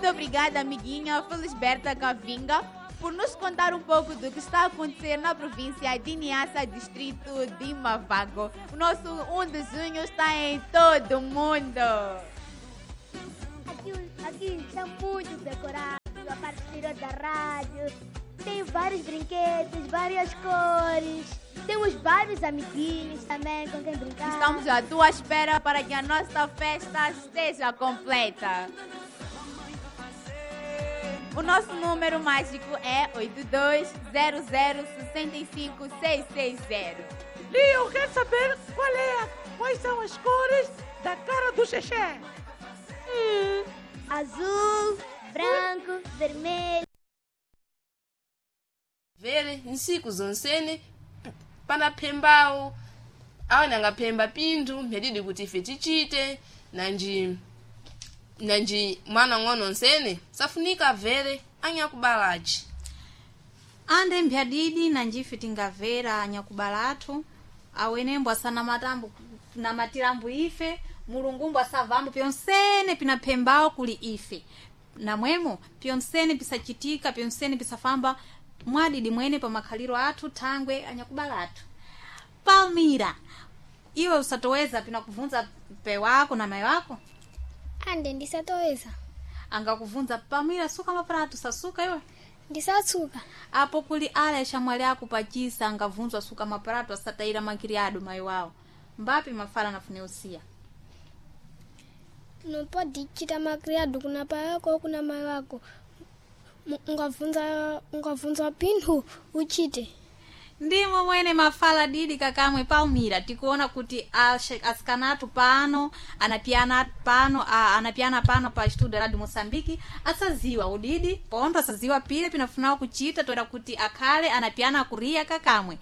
Muito obrigada, amiguinha Felisberta Cavinga, por nos contar um pouco do que está a acontecer na província de Niassa, distrito de Mavago. O nosso 1 de junho está em todo mundo. Aqui está muito decorado, a parte exterior da rádio. Tem vários brinquedos, várias cores. Temos vários amiguinhos também com quem brincar. Estamos à tua espera para que a nossa festa esteja completa. O nosso número mágico é 820065660. Lia, eu quero saber quais são as cores da cara do Xexé. Azul, branco, vermelho. Vele nsiku zonsene panaphembawo awene angaphemba pinthu mphedidi kuti ife tichite nanji nanji mwana ng'ono nsene safunika vere anyakubalaci. Ande mphyadidi nanjife tingamvera anyakubala athu awenembo asanamatambo namatirambo ife mulungumbo asavambo pyonsene pinaphembawo kuli ife namwemo pyonsene pisachitika pyonsene pisafamba mwadidi mwene pa makhaliro athu thangwe anyakubala athu. Palmira, iwe usatoweza pinakuvunza pe wako na mai wako? Ande ndisatoweza. Angakuvunza Palmira, suka maprato sasuka iwe? Ndisatsuka. Apo kuli ala yaxamwali ako pachisa angavunzwa suka maprato asatayira makiriado mai wawo mbapi mafala nafune usiya. Não pode chita macriado kuna pai wako ou kuna mai wako. Ungavunza pinthu uchite. Ndimo mwene mafala didi kakamwe Palmira, tikuona kuti asikanatu pano anapiana pano anapiana pano pa studio Radio Moçambique asaziwa udidi pondo asaziwa pile pinafunawo kuchita toera kuti akhale anapiana akuriya kakamwe.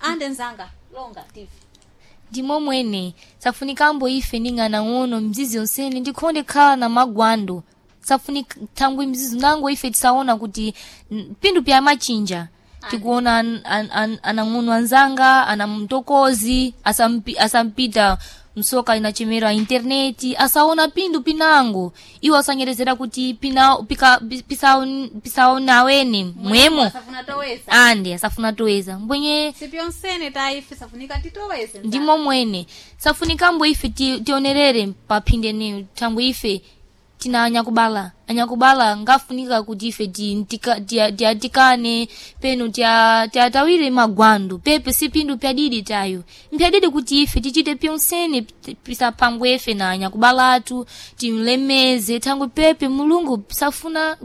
Ande nzanga longa tivi. Ndimo mwene safunikambo ife ning'anang'ono mzizi onsene ndikhonde khala na magwando safunika thangwi mzizi nango ife tisaona kuti pinthu pya machinja tikuona anang'ono anzanga ana mtokozi asampita msoka inachemera interneti asaona pinthu pinango iwo asanyerezera kuti pisaona awene mwemo. Asafuna toweza. Ande asafuna toweza mbwenye. Sipyonsene ta ife safunika titoweze nzanga. Ndimo mwene safunikambo ife tionerere paphinde neyo thangwi ife tina anyakubala anyakubala ngafunika kuti ife tiatikane penu tiatawire magwando pepe si pinthu pyadidi tayo mpyadidi kuti ife tichite pyonsene pisapangwe ife na anyakubala athu timlemeze thangwi pepe mulungu pisafuna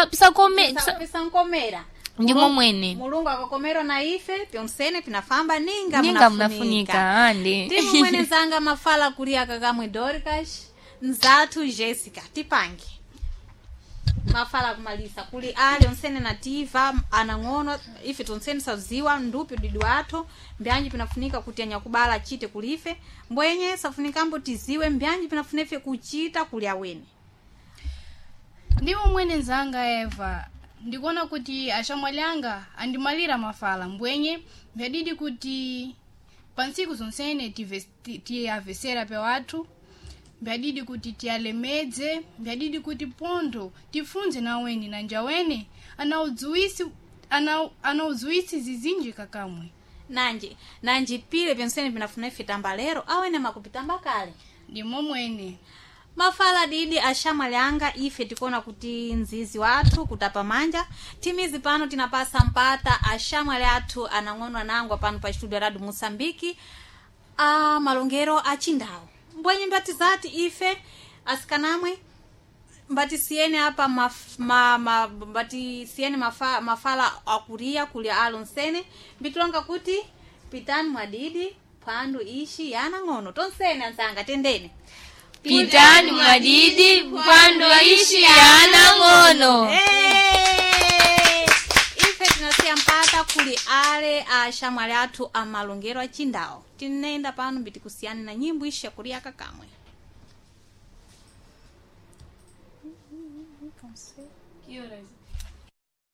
pisakome Pisankomera. Ndimo mwene. Mulungu akakomera na ife pyonsene pinafamba ninga ninga munafunika. Mnafunika ande. Ndimo mwene nzanga mafala kulia kakamwe Dorcas nzathu Jessica tipange mafala kumalisa kuli ali onsene nativa anang'ono ife tonsene saziwa ndupi udidi wathu mbyanji pinafunika kuti anyakubala achite kulife mbwenye safunikambo tiziwe mbyanji pinafuna ife kuchita kuli awene. Ndimo mwene nzanga Eva, ndikuona kuti axamwali anga andimalira mafala mbwenye mphedidi kuti pa ntsiku zonsene tiyavesera pe wathu mphadidi kuti tiyalemedze mphadidi kuti pondo tifunze naweni na njawene anaudziwisi zizinji kakamwe. Nanji nanji pile pyonsene pinafuna ife tamba lero awene makupitamba kale. Ndimo mwene. Mafala didi axamwali anga ife tikuona kuti nzizi wathu kutapa manja timizi pano tinapasa mpata axamwali athu anang'ono anangwa pano pa studio Radio Moçambique a malongero achindawo mbwenye mbatizati ife asikanamwe mbatisiyene apa mbatisiyene mafala akuria kuli alonsene mbitilonga kuti pitani mwadidi phandu ishi yana ng'ono tonsene anzanga tendene. Pitani mwadidi mpando ishi yana ng'ono. Hey! Ife tinasiya mpata kuli ale axamwali athu amalongero achindawo tinenda pano mbitikusiyana na nyimbo ishi yakuria kakamwe. Que horas?